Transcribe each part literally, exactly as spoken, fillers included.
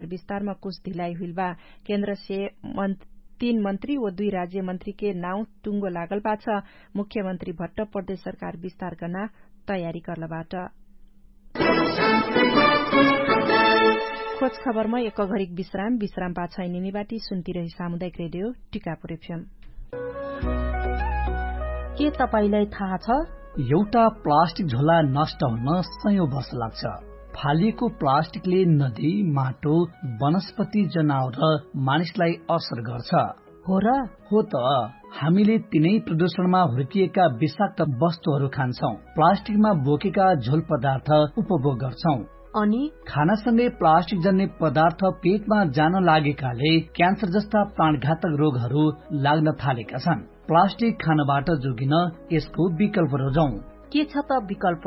विस्तारमा कुछ धिलाई हुइल बा। केन्द्रसे तीन मन्त्री व दुई राज्यमन्त्रीके नाउँ टुङ्गो लागल बा छ। मुख्यमन्त्री भट्ट प्रदेश सरकार विस्तार कर्ना तयारी कर्लबाट। खोज खबरमा एक घरिक विश्राम विश्राम पाछै निमिबाटी सुन्तिरही सामुदायिक रेडियो टिकापुर एफएम। के तपाईंलाई थाहा छ? एउटा प्लास्टिक झोला नष्ट हुन सयौं वर्ष लाग्छ। फालिएको प्लास्टिकले नदी, माटो, वनस्पति, जनावर र मानिसलाई असर गर्छ। हो र? हो त। हामीले तिनै प्रदूषणमा हुर्किएका विषाक्त वस्तुहरू खान्छौं, प्लास्टिकमा बोकेका झोल पदार्थ उपभोग गर्छौं। अनि खानासँगै प्लास्टिक जन्ने पदार्थ पेटमा जान लागेकाले क्यान्सर जस्ता प्राणघातक रोगहरू लाग्न थालेका छन्। प्लास्टिक खानबाट जोगिन यसको विकल्प रोजौं। के छ त विकल्प?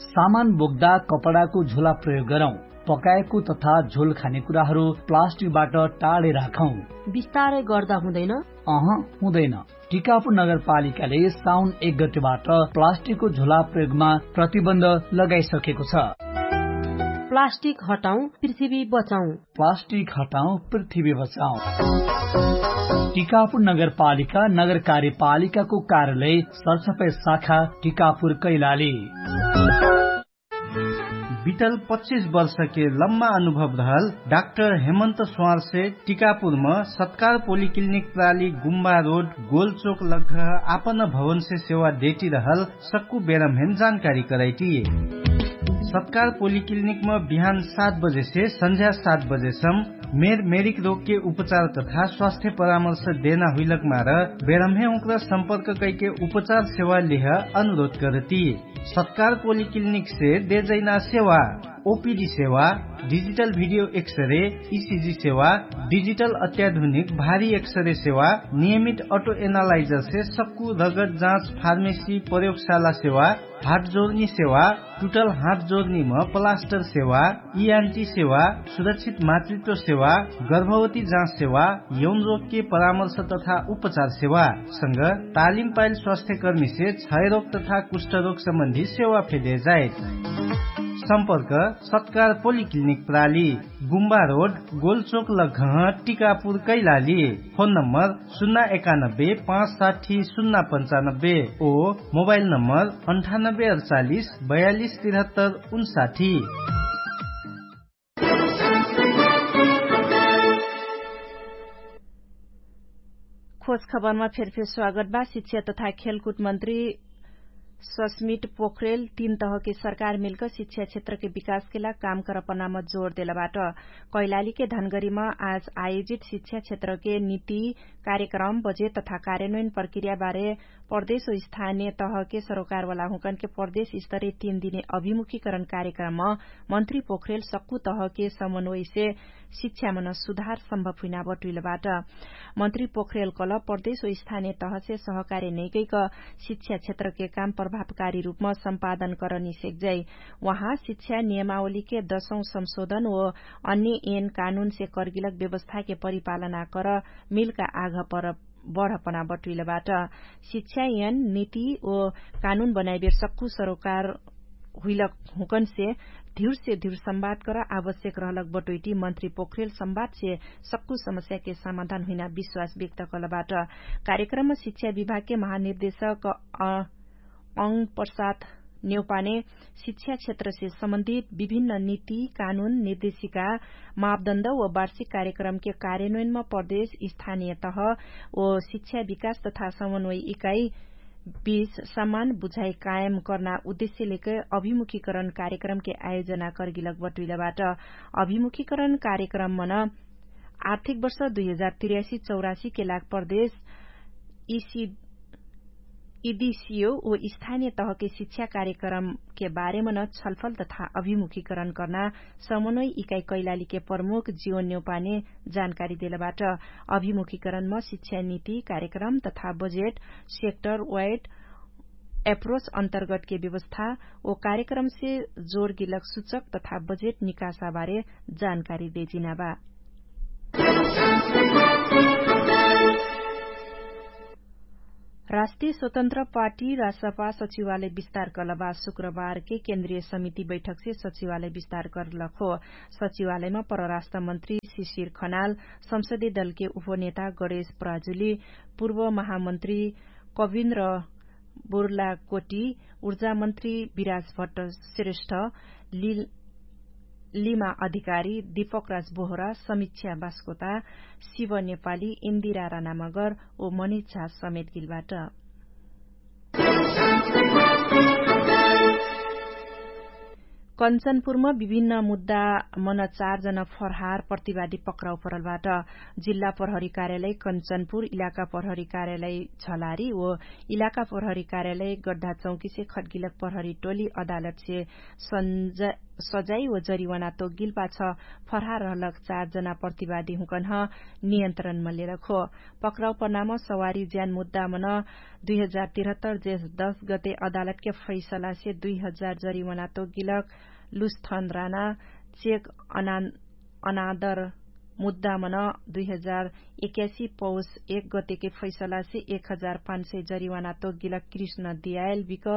सामान बोक्दा कपडाको झोला प्रयोग गरौं। पकाएको तथा झोल खाने कुराहरू प्लास्टिकबाट टाढे राखौं। विस्तारै गर्दा हुँदैन? अह, हुँदैन। टिकापुर नगरपालिकाले साउन एक गतेबाट प्लास्टिकको झोला प्रयोगमा प्रतिबन्ध लगाइसकेको छ। प्लास्टिक हटाउँ, पृथ्वी बचाउँ। प्लास्टिक हटाउँ, पृथ्वी बचाउँ। टिकापुर नगरपालिका, नगर कार्यपालिकाको कार्यालय, सरसफाई शाखा, टिकापुर कैलाली। बितल पच्चिस वर्षके लम्मा अनुभव रहल डाक्टर हेमन्त स्वारसे टिकापुरम सत्कार पोलिक्लिनिक प्राली गुम्बा रोड गोलचोक लग्घ आपन भवनसे सेवा देटी रहल सक्कु बेरम्हेन जानकारी कराइटी। सत्कार पोलिक्लिनिकम बिहान सात बजेसे सन्झ्या सात बजेसम मेर मेरिक रोगके उपचार तथा स्वास्थ्य परामर्श देना हुइलक मार बेरम्हे उक्र सम्पर्क कैके उपचार सेवा लेह अनुरोध करती। सत्कार पोलिक्लिनिकसे देजैना सेवा ओपिडी सेवा, डिजिटल भिडियो एक्सरे, इसिजी सेवा, डिजिटल अत्याधुनिक भारी एक्सरे सेवा, नियमित अटो एनालाइजरसे सक्कु रगत जाँच फार्मेसी प्रयोगशाला सेवा, हाटजोर्नी सेवा, टुटल हाटजोर्नीम प्लास्टर सेवा, इआन्टी सेवा, सुरक्षित मातृत्व सेवा, गर्भवती जाँच सेवा, यौनरोगके परामर्श तथा उपचार सेवा संग तालिम पाइल स्वास्थ्यकर्मीसे क्षयरोग तथा कुष्ठरोग सम्बन्धी सेवा फेदे जाइत। सम्पर्क सत्कार पोलिक्लिनिक प्राली, गुम्बा रोड, गोलचोक लग्घह, टिकापुर कैलाली। फोन नम्बर सुन्ना एकानब्बे पाँच साठी सुन्ना पन्चानब्बे ओ मोबाइल नम्बर अन्ठानब्बे अडचालिस बयालिस तिरहत्तर उन्साठी। खोज खबरमा फेरफेर स्वागत बा। शिक्षा तथा खेलकुद मन्त्री सस्मिट पोखरेल तीन तहके सरकार मिलक शिक्षा क्षेत्रके विकासके लाग काम करपनाम जोर देलबाट। कैलालीके धनगरीमा आज आयोजित शिक्षा क्षेत्रके निति कार्यक्रम बजेट तथा कार्यन्वयन प्रक्रियाबारे प्रदेश ओ स्थानिय तहके सरोकारवाला हुँकनके प्रदेश स्तरे तीन दिने अभिमुखीकरण कार्यक्रम मन्त्री पोखरेल सक्कु तहके समन्वयसे शिक्षामन सुधार सम्भव हुइना बटुइलबाट। मन्त्री पोखरेल कल प्रदेश ओ स्थानिय तहसे सहकार्य नैकैक शिक्षा क्षेत्रके काम प्रभावकारी रूपमा सम्पादन करनी सेक्जै। उहाँ शिक्षा नियमावलीके दशौं संशोधन ओ अन्य एन कानुनसे कर्गिलक व्यवस्थाके परिपालना कर मिलका आघ पर बढपना बटुइलबाट। शिक्षा यन निति ओ कानुन बनाइबेर सक्कु सरोकार हुइलक हुँकनसे धिउरसे धिउर संवाद कर आवश्यक रहलक बटोइटी मन्त्री पोखरेल संवादसे सक्कु समस्याके समाधान हुइना विश्वास व्यक्त कलबाट। कार्यक्रममा शिक्षा विभागके महानिर्देशक अंग प्रसाद नेउपाने शिक्षा क्षेत्रसे सम्बन्धित विभिन्न निति कानुन निर्देशिका मापदण्ड व वार्षिक कार्यक्रमके कार्यन्वयनमा प्रदेश स्थानिय तह व शिक्षा विकास तथा समन्वय इकाइ बीच समान बुझाइ कायम कर्ना उद्देश्य लेके अभिमुखीकरण कार्यक्रमके आयोजना कर्गिलक बटुइलबाट। अभिमुखीकरण कार्यक्रम मन आर्थिक वर्ष दुई हजार तिर्यासी चौरासी के लाग प्रदेश इदिसियो ओ स्थानिय तहके शिक्षा कार्यक्रमके बारेमन छलफल तथा अभिमुखीकरण कर्ना समन्वय इकाइ कैलालीके प्रमुख जिवन न्यौपाने जानकारी देलबाट। अभिमुखीकरणम शिक्षा निति कार्यक्रम तथा बजेट सेक्टर वाइड एप्रोच अन्तर्गतके व्यवस्था ओ कार्यक्रमसे जोर गिलक सुचक तथा बजेट निकासाबारे जानकारी देजिनाबा। राष्ट्रिय स्वतन्त्र पार्टी राष्ट्रपा सचिवालय विस्तार कर्लबा शुक्रबारके केन्द्रिय समिति बैठकसे सचिवालय विस्तार कर्लक हो। सचिवालयमा परराष्ट्र मन्त्री शिशिर खनाल, संसदीय दलके उपनेता गणेश प्राजुली, पूर्व महामन्त्री कविन्द्र बोर्लाकोटी, ऊर्जामन्त्री विराज भट्ट श्रेष्ठ, लिमा अधिकारी, दीपकराज बोहरा, समीक्षा बास्कोता, शिव नेपाली, इन्दिरा रानामगर, ओ मनिच्छा समेत गिलबाट। कन्चनपुरमा विभिन्न मुद्दा मन चार जन फरहार प्रतिवादी पक्राउ परलबाट। जिल्ला प्रहरी कार्यालय कन्चनपुर, इलाका प्रहरी कार्यालय झलारी ओ इलाका प्रहरी कार्यालय गड्ढा चौकीसे खटगिलक प्रहरी टोली अदालतसे सजाई ओ जरिवाना तोगिल पाछ फरहार रहलक चार जना प्रतिवादी हुँकन्ह नियन्त्रणमा लेलक हो। पक्राउ पर्नाम सवारी ज्यान मुद्दा मन दुई हजार तिरहत्तर जेस दस गते अदालतके फैसलासे दुई हजार जरिवाना तोगिलक लुस्थन राना चेक अनादर मुद्दा मन दुई हजार एक्यासी पौष एक गतेके फैसलासे एक हजार पाँच सय जरिवाना तोगिलक कृष्ण दियायल बिक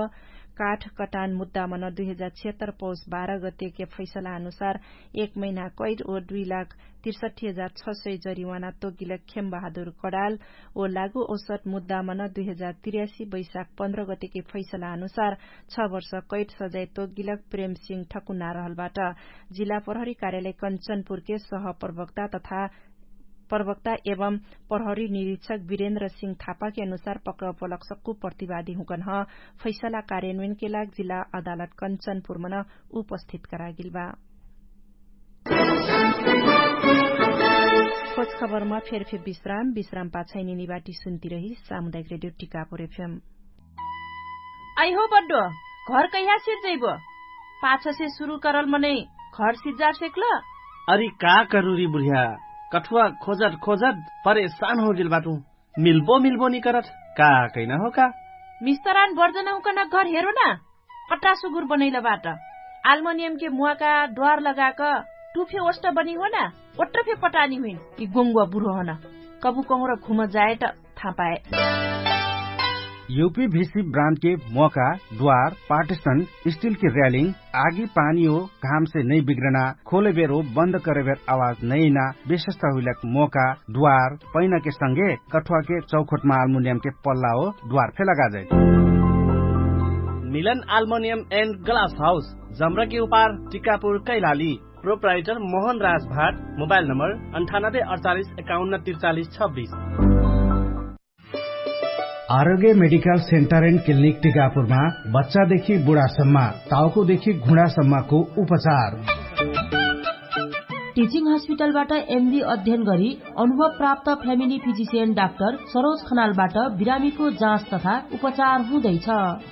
काठ कटान मुद्दा मन दुई हजार छिहत्तर पौष बाह्र गतेके फैसला अनुसार एक महिना कैट ओ दुई लाख तिरसठी हजार छ सय जरिवाना तोगिलक खेम बहादुर कडाल ओ लागु औसत मुद्दा मन दुई हजार तिर्यासी बैशाख पन्ध्र गतेके फैसला अनुसार छ वर्ष कैट सजाय तोगिलक प्रेम सिंह ठकुना रहलबाट। जिल्ला प्रहरी कार्यालय कन्चनपुरके सह प्रवक्ता तथा प्रवक्ता एवं प्रहरी निरीक्षक विरेन्द्र सिंह थापाके अनुसार पक्राउ पलक सक्कु प्रतिवादी हुँकन्ह फैसला कार्यान्वयनके लाग जिल्ला अदालत कन्चनपुरमन उपस्थित करागिल बा। खोज खबरमा फेरफे विश्राम विश्राम पाछै निनिबाटी सुन्तिरही सामुदायिक रेडियो टिकापुर एफएम। अइहो बड्डो, घर कैहा सिर्जैबो? पाछसे सुरु करल मनै घर सिर्जा सेक्ल? अरि का करुरी बुढिया, कठुवा खोजत खोजत परेशान होगेल बाटु। मिल्बो मिल्बो निकरत, का कैना हो का? मिस्तरान बर्जन हुँकन घर हेरो न। कट्रा सुगुर बनैल बाट। आल्मनियमके मुवाका द्वार लगाक टुफे ओष्ट बनी हो न। ओट्रफे पटानी हुइन। यि गोङ्गुवा बुढो हन। कबु कहुँर घुम जायट थापाए। युपी भिसी ब्रान्डके मोका द्वार पार्टिसन स्टिलके र्यालिङ आगी पानी हो घामसे नै बिग्रना खोलेबेर हो बन्द करेबेर आवाज नैना विशेषता हुइलक मोका द्वार पैनाके संगे कठुवाके चौखोटमा आल्मुनियमके पल्ला हो द्वार फेला गाजै। मिलन आल्मुनियम एन्ड ग्लास हाउस जम्रकी उपार टिकापुर कैलाली। प्रोप्राइटर मोहन राज भाट। मोबाइल नम्बर अन्ठानब्बे अडचालिस एकाउन्न तिरचालिस छब्बिस। आरोग्य मेडिकल सेन्टर एन्ड क्लिनिक टिकापुरमा बच्चादेखि बुढासम्म, ताउकोदेखि घुँडासम्मको उपचार। टिचिङ हस्पिटलबाट एमडी अध्ययन गरी अनुभव प्राप्त फ्यामिली फिजिसियन डाक्टर सरोज खनालबाट बिरामीको जाँच तथा उपचार हुँदैछ।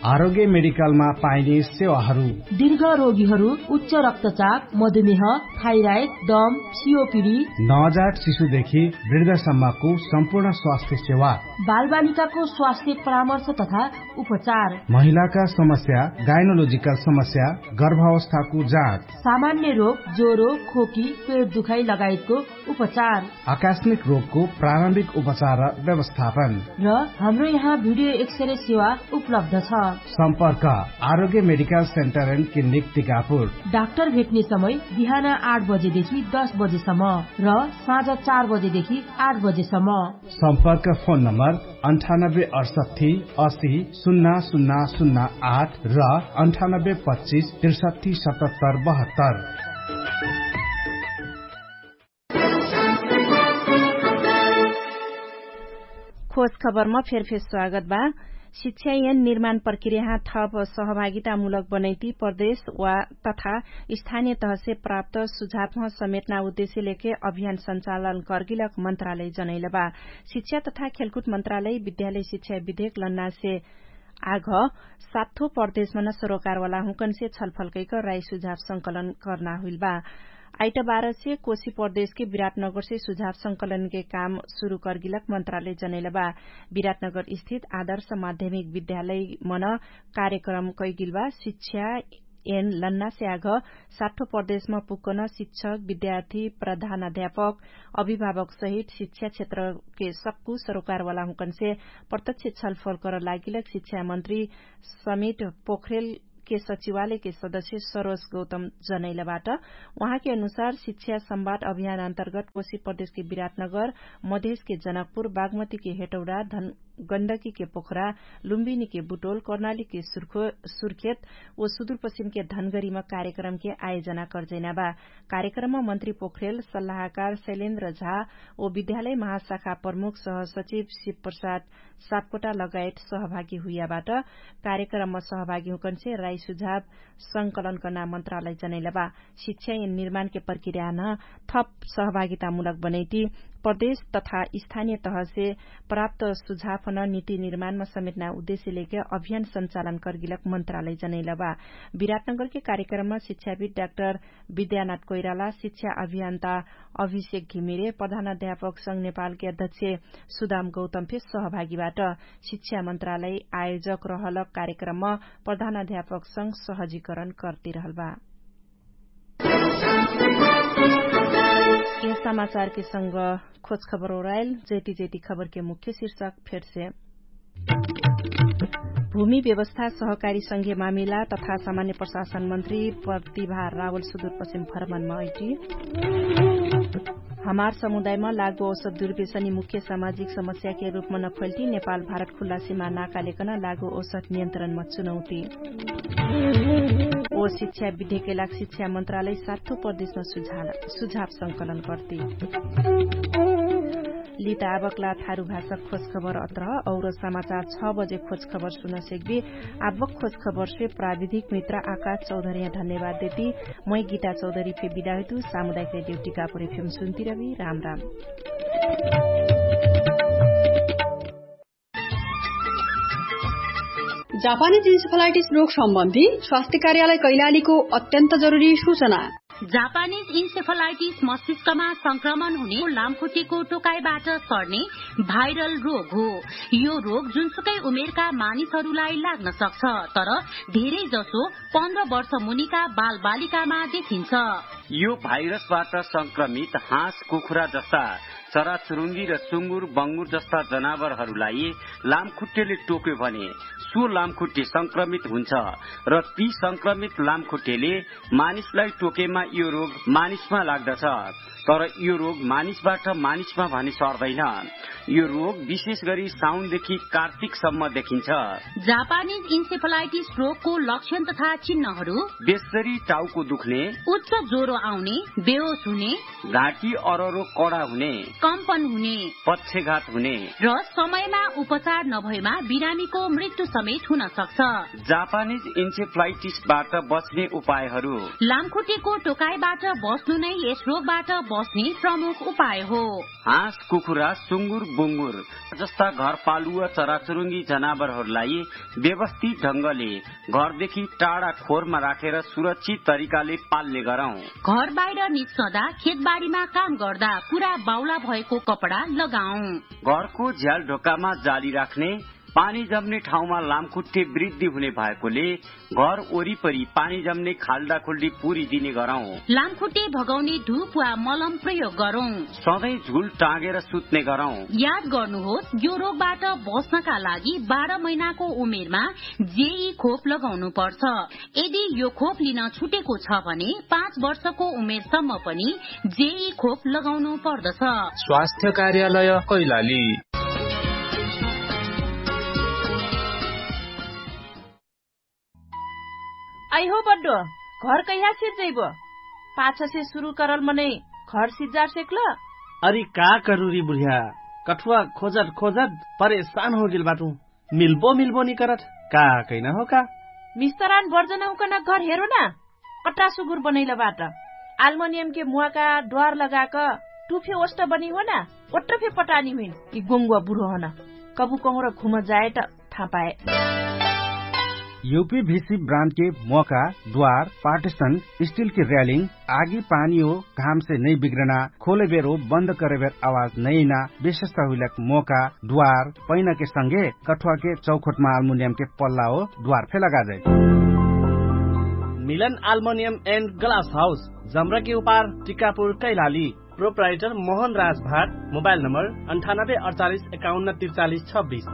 आरोग्य मेडिकलमा पाइने सेवाहरू। दीर्घ रोगीहरू, उच्च रक्तचाप, मधुमेह, थाइराइड, दम, सिओपिडी, नवजात शिशुदेखि वृद्धसम्मको सम्पूर्ण स्वास्थ्य सेवा। बालबालिकाको स्वास्थ्य परामर्श तथा उपचार। महिलाका समस्या, गाइनोलोजिकल समस्या, गर्भावस्थाको जाँच। सामान्य रोग, ज्वरो, खोकी, पेट दुखाइ लगायतको उपचार। आकस्मिक रोगको प्रारम्भिक उपचार र व्यवस्थापन। र हाम्रो यहाँ भिडियो एक्सरे सेवा उपलब्ध छ। सम्पर्क आरोग्य medical centre and clinic Tikapur. Doctor भेट्ने समय बिहान आठ बजेदेखि दस बजेसम्म र साँझ चार बजेदेखि आठ बजेसम्म। सम्पर्क फोन नम्बर अन्ठानब्बे अडसट्ठी असी सुन्ना सुन्ना सुन्ना आठ र अन्ठानब्बे पच्चिस त्रिसट्ठी सतहत्तर बहत्तर। खोज खबरमा फेरफेर स्वागत बा। शिक्षा यन निर्माण प्रक्रियाहा थप सहभागितामूलक बनैती प्रदेश वा तथा स्थानीय तहसे प्राप्त सुझावह समेटना उद्देश्य लेके अभियान सञ्चालन कर्गिलक मन्त्रालय जनैलबा। शिक्षा तथा खेलकुट मन्त्रालय विद्यालय शिक्षा विधेक लन्नासे आघ सात्थो प्रदेशमन सरोकारवाला हुँकनसे छलफलकैक राई सुझाव संकलन कर्ना हुइलबा। आइटबारसे कोशी प्रदेशके विराटनगरसे सुझाव संकलनके काम सुरु कर्गिलक मन्त्रालय जनैलबा। विराटनगर स्थित आदर्श माध्यमिक विद्यालयमन कार्यक्रम कैगिलबा। शिक्षा एन लन्नासे आघ साठो प्रदेशमा पुग्कन शिक्षक, विद्यार्थी, प्रधान अध्यापक, अभिभावकसहित शिक्षा क्षेत्रके सक्कु सरोकारवाला हुँकनसे प्रत्यक्ष छलफल कर लागिलक शिक्षा मन्त्री समिट पोखरेलके सचिवालयके सदस्य सरोज गौतम जनैलबाट। उहाँके अनुसार शिक्षा सम्वाद अभियान अन्तर्गत कोशी प्रदेशके विराटनगर, मधेशके जनकपुर, बागमतीके हेटौडा, गण्डकीके पोखरा, लुम्बिनीके बुटोल, कर्णालीके सुर्खेत ओ सुदुरपश्चिमके धनगरीमा कार्यक्रमके आयोजना कर्जैना बा। कार्यक्रममा मन्त्री पोखरेल, सल्लाहकार शैलेन्द्र झा ओ विद्यालय महाशाखा प्रमुख सहसचिव शिवप्रसाद सापकोटा लगायत सहभागी हुइयाबाट। कार्यक्रममा सहभागी हुँकनसे राई सुझाव संकलन कर्ना मन्त्रालय जनैलबा। शिक्षा एन निर्माणके प्रक्रियान थप सहभागितामुलक बनैति प्रदेश तथा स्थानीय तहसे प्राप्त सुझाव हुन नीति निर्माणमा समेटना उद्देश्य लेके अभियान सञ्चालन कर्गिलक मन्त्रालय जनैलबा। विराटनगरके कार्यक्रममा शिक्षाविद डाक्टर विद्यानाथ कोइराला, शिक्षा अभियान्ता अभिषेक घिमिरे, प्रधान अध्यापक संघ नेपालके अध्यक्ष सुदाम गौतम फे सहभागीबाट। शिक्षा मन्त्रालय आयोजक रहलक कार्यक्रममा प्रधान अध्यापक संघ सहजीकरण कर्तिरहलबा। यस समाचारके संग खोज खबर ओराइल। जैति जैति खबरके मुख्य शीर्षक फेरसे। भूमि व्यवस्था सहकारी संघीय मामिला तथा सामान्य प्रशासन मन्त्री प्रतिभा रावल सुदुरपश्चिम भ्रमणमा अइटी। हमार समुदायमा लागु औसत दुर्वेशनी मुख्य सामाजिक समस्याके रूपमा नफैल्टी नेपाल भारत खुल्ला सिमा नाकालेकन लागु औसत नियन्त्रणमा चुनौती। ओ शिक्षा विधेके लाग शिक्षा मन्त्रालय साठो प्रदेशमा सुझाव संकलन कर्ती। लिता आबकला थारु भाषा खोज खबर अत्र और समाचार छ बजे खोज खबर सुन सेक्बी। आबक खोज खबर से प्राविधिक मित्र आकाश चौधरिया धन्यवाद देती। मै गीता चौधरी फे बिदा हुइतु। सामुदायिक रेडियो टिकापुर एफएम सुन्ती रबी। राम राम। जापानी जिन्सफलाइटिस रोग सम्बन्धी स्वास्थ्य कार्यालय कैलालीको अत्यन्त जरुरी सूचना। जापानिज इन्सेफलाइटिस मस्तिष्कमा संक्रमण हुने लामखुट्टेको टोकाइबाट सर्ने भाइरल रोग हो। यो रोग जुनसुकै उमेरका मानिसहरूलाई लाग्न सक्छ, तर धेरै जसो पन्ध्र वर्ष मुनिका बालबालिकामा देखिन्छ। यो भाइरसबाट संक्रमित हाँस कुखुरा जस्ता चराचुरुङ्गी र सुँगुर बङ्गुर जस्ता जनावरहरूलाई लामखुट्टेले टोक्यो भने सो लामखुट्टे संक्रमित हुन्छ र ती संक्रमित लामखुट्टेले मानिसलाई टोकेमा यो रोग मानिसमा लाग्दछ। तर यो रोग मानिसबाट मानिसमा भने सर्दैन। यो रोग विशेष गरी साउनदेखि कार्तिकसम्म देखिन्छ। जापानिज इन्सेफलाइटिस रोगको लक्षण तथा चिन्हहरू बेसरी टाउको दुख्ने, उच्च ज्वरो आउने, बेहोस हुने, घाँटी अररो कडा हुने, कम्पन हुने, पक्षघात हुने र समयमा उपचार नभएमा बिरामीको मृत्यु समेत हुन सक्छ। जापानिज इन्सेफलाइटिसबाट बच्ने उपायहरू। लामखुट्टेको टोकाइबाट बस्नु नै यस रोगबाट बस्ने प्रमुख उपाय हो। हाँस कुखुरा सुँगुर बुँगुर जस्ता घरपालुवा चराचुरुङ्गी जनावरहरूलाई व्यवस्थित ढङ्गले घरदेखि टाढा खोरमा राखेर सुरक्षित तरिकाले पाल्ने गरौँ। घर बाहिर निस्कँदा खेतबारीमा काम गर्दा पुरा बाउला भएको कपडा लगाऊ। घरको झ्याल ढोकामा जाली राख्ने। पानी जम्ने ठाउँमा लामखुट्टे वृद्धि हुने भएकोले घर वरिपरि पानी जम्ने खाल्डाखुल्डी पुरिदिने गरौँ। लामखुट्टे भगाउने धुप वा मलम प्रयोग गरौँ। सधैँ झुल टाँगेर सुत्ने गरौँ। याद गर्नुहोस्, यो रोगबाट बस्नका लागि बाह्र महिनाको उमेरमा जेई खोप लगाउनु पर्छ। यदि यो खोप लिन छुटेको छ भने पाँच वर्षको उमेरसम्म पनि जेई खोप लगाउनु पर्दछ। स्वास्थ्य कार्यालय कैलाली। आइहो बड्डो, घर कैहा सिर्जैबो? पाछसे सुरु करल मनै घर सिर्जार सेक्ल? अरि का करुरी बुढिया, कठुवा खोजत खोजत परेशान होगेल बाटु। मिल्बो मिल्बो निकरत का कैना हो का? मिस्तरान बर्जनहुकन घर हेरो ना। कट्रा सुगुर बनैल बाट। आल्मोनियमके मुवाका द्वार लगाक टुफे ओष्ट बनी हो ना। ओट्रफे पटानी हुइन कि गोङ्गुवा बुढो हन। कबु कहुँर घुम जाएट थापाए। युपी भिसी ब्रान्डके मोका द्वार पार्टिसन स्टिलके र्यालिङ आगी पानी हो घामसे नै बिग्रना खोले बेरो बन्द करे बेर आवाज नैना विशेषता हुइलक मोका द्वार पैनाके संगे कठुवाके चौखोटमा आल्मुनियमके पल्ला हो द्वार फे लगाजै। मिलन आल्मोनियम एन्ड ग्लास हाउस, जम्रकी उपार, टिकापुर कैलाली। प्रोप्राइटर मोहन राज भाट। मोबाइल नम्बर अन्ठानब्बे अडचालिस एकाउन्न त्रिचालिस छब्बिस।